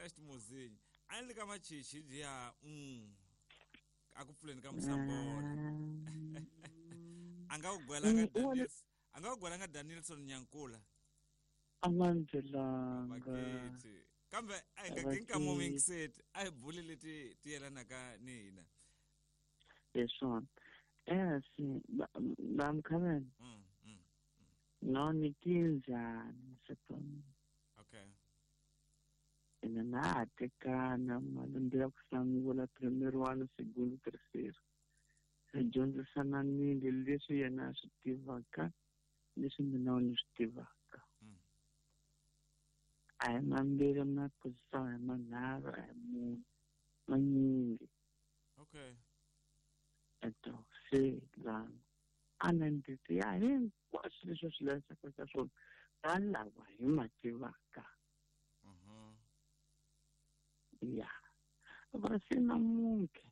First Muzinyi. A ni le ka machichi ya a ku pfuleni ka Musambona. A nga ku gwelanga Daniels. A nga ku gwelanga Danielson Nyankula. A nga ni byelanga. Vaketi. Kambe a hi nga kinka mo mingiseti a hi buli leti ti yelanaka ni hina. Hi swona. Esi bamkhabela. No ni kinjani sepon. Okay. Ene na ha tekana malembe ya ku sungula primero ano, segundo, terceiro. Hi dyondzisananile leswi yena a swi tivaka leswi mina ni swi tivaka. A hi mambirhi maphosisa a hi manharhu a hi mune manyingi. Okay. Eto se lana a na ndzi ya hinkwaswo leswi swi lavekaka ka swona ka lava hi ma tivaka. Ya va se namuntlha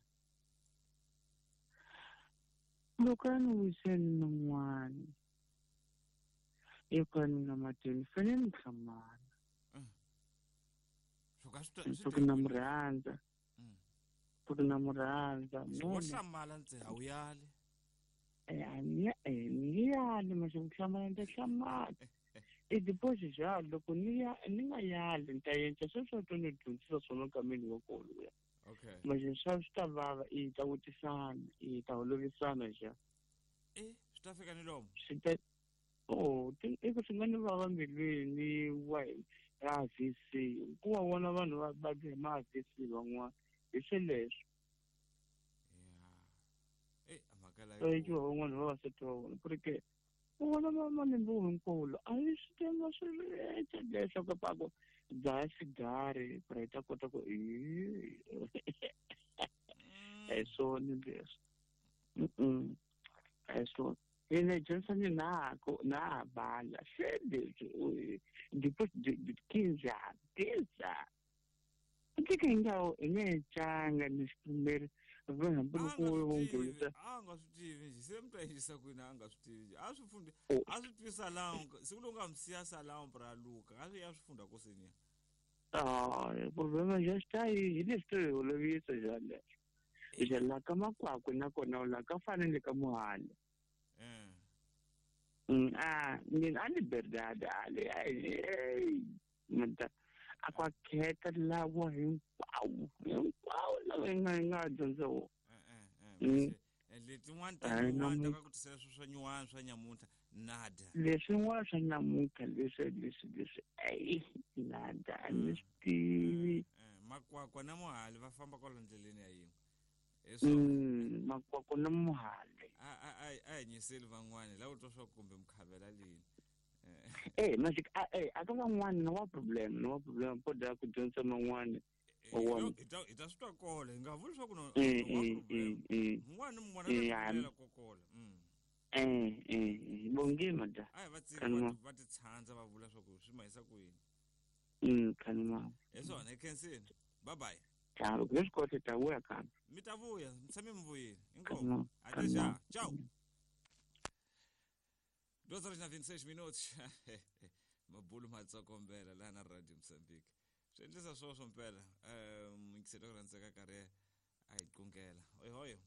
loko a ni wiseni n'wana hikuva ni nga matini fanele ni hlamala ku na mu rhandza ku na mu rhandza wo hlamala ntse a wu yali ni yali mase ku hlamala ni ta hlamala i deposit jalo loko ni ya ni nga yali ni ta endla sweswo to ni dyondzisa swona kameni wa kona luya. Okay. Manje swa swi ta vava i ta vutisana i ta holovisana ja. Swi ta fika ni lomu. Swi ta i ku swi nga ni vava mbilwini wa AVC ku wa vona vanhu va va ma AVC van'wana hi sweleswo. Yeah. Mhaka la. Yi van'wana vavasati va vona ku ri ke u vona malembe hinkwawo a yi swi tiva swi leswaku paku dzaha xigari ku ri hi ta kota ku a hi swona leswi a hi swona ina dyondzisani nako na ha bala se leswi kinjani kinjani tika ingawo i nga tlanga ni xipfumeri hambi loko wo nghenisa a nga swi tivi njhe se mi ta yisa kwini a nga swi tivi a swi fundi a swi tivi salão siku lowu nga mi siya salão pra luka a swi ya swi funda kosini ya problema ja xi ta hi leswi to hi olovisa ja leswo ja la ka makwakwe nakona la ka fanele ka muhali mina a liberdade ale a kwa khetha lawa hinkwawo hinkwawo lawa hi nga hi nga dyondza wona letin'wana ta nyuwana ta ka ku tisela swi swa nyuwana swa nyamuntlha nada leswin'wana swa nyamuntlha leswi leswi leswi ayi nada a ni swi tivi makwakwa na muhali va famba kwala ndleleni ya yin'we makwakwa na muhali a hi nyiseli van'wani la u twa swa kumbe mukhavela lini manje a ka van'wani no wa problem no wa problem po da ku dyondza man'wani hi ta swi twa kola hi nga vuli swa ku no mun'wana ni mun'wana a kokola bonge mada a hi va tsiki va ti tshandza va vula swa ku swi mahisa ku yini khanima hi swona hi khensini bye bye ta loko mi swi kota ta vuya kambe mi ta vuya mi tshame mi vuyile inkomu até já tchau 2:26 minutos mabulu matsokombela laha na Radio Mozambique swi endlisa swoswo mpela muyingiseri ku rhandzeka karhi a hi qungela oyohoyo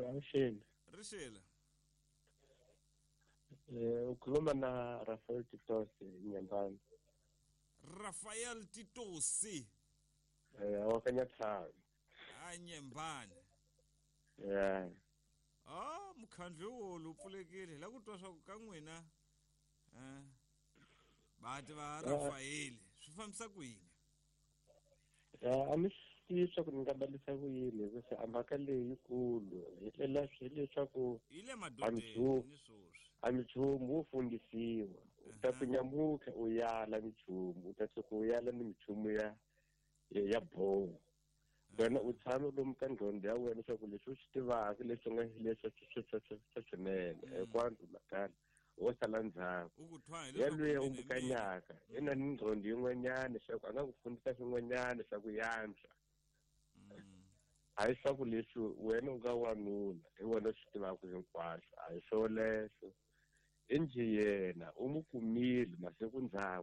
Avuxeni. Rixile. Ukhuluma na Rafael Titosi Nyambani. Rafael Titosi. Wa ka Nyathanga. A Nyembani. Yeah. Mukhandlu wolu pfulekile la ku twa swa ku ka n'wina vati va Rafael swi fambisa ku yini? A mi swi tivi swa ku ni nga balisa ku yini hikuva a mhaka leyi yikulu hi ndlela hileswaku yi le madodeni ni swoswi a minchumu wo fundisiwa u ta ku nyamutlha u yala minchumu u ta tshuka u yala ni minchumu ya ya boho wena u tshame lomu ka nqondo ya wena leswaku leswi u swi tivaka leswi nga leswi swa swinene hinkwato makala wo sala ndzhaku yaloye u mukanyaka i na ni nqondo yin'wanyana leswaku a nga ku fundisa swin'wanyana swa ku yantswa a hi swa ku leswi wena u nga wanuna hi wena u swi tivaka hinkwaswo a hi swoleswo i njhe yena u mu kumile masiku ndzhaku.